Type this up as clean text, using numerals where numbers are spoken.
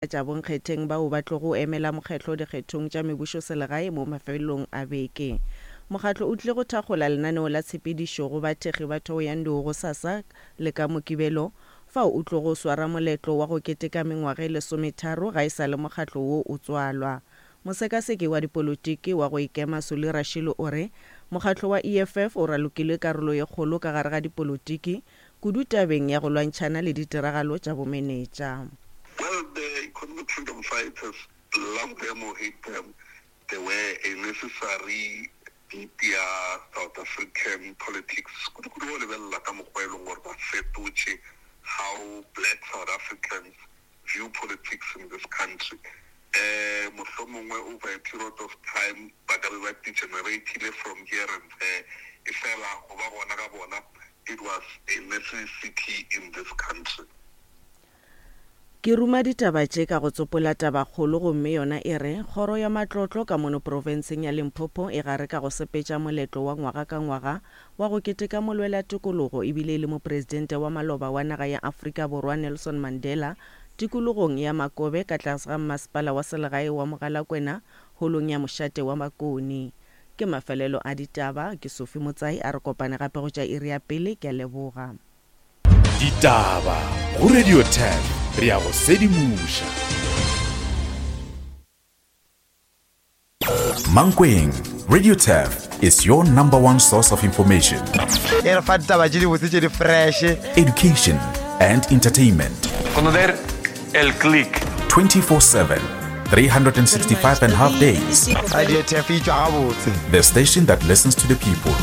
Tša bonkgetheng bao ba tlogo emela mokgehlo dikgethong tša mebušoselegae mo mafelong a beke. Mokgatlo o tlile go thakgola lenaneo la tshepedišo go bathekgi ba Thohoyandou gosasa le ka Mokibelo, fao o tlogo swara moletlo wa go keteka mengwaga e lesometharo ga e sa le mokgatlo wo o tswalwa. Mosekaseki wa dipolotiki wa go ikema Solly Rashilo o re mokgatlo wa EFF o ralokile karolo ye kgolo ka gare ga dipolotiki kudu tabeng ya go lwantšhana le ditiragalo tša bomenetša. Well, the economic freedom fighters, love them or hate them, they were a necessary beat ya South African politics, kudu-kudu ge o lebelela ka mokgwa e leng gore ba fetotše how black South Africans view politics in this country. Um mohlomongwe over a period of time ba ka be ba degenerate-ile from here and there, efela go ba gona ga bona it was a necessity in this country. Ke ruma ditaba tše ka go tsopola tabakgolo gomme yona e re, Kgoro ya Matlotlo ka mono profenseng ya Limpopo e gare ka go sepetša moletlo wa ngwaga ka ngwaga wa go keteka molwelatokologo ebile e le mopresidente wa maloba wa naga ya Afrika Borwa Nelson Mandela tikologong ya Makobe ka tlase ga mmasepala wa selegae wa Mogalakwena holong ya mošate wa Makoni. Ke mafelelo a ditaba, ke Sophie Motsai a re kopane gape go tša iri ya pele, ke a leboga. Ditaba go Radio 10 re a go sedimoša. Mankweng, Radio Turf is your number one source of information. E re fa ditaba tše dibotse tše di fresh. Education and entertainment. Conocer el click. 24/7, 365 and half days. Radio Turf e tšwa gabotse. The station that listens to the people.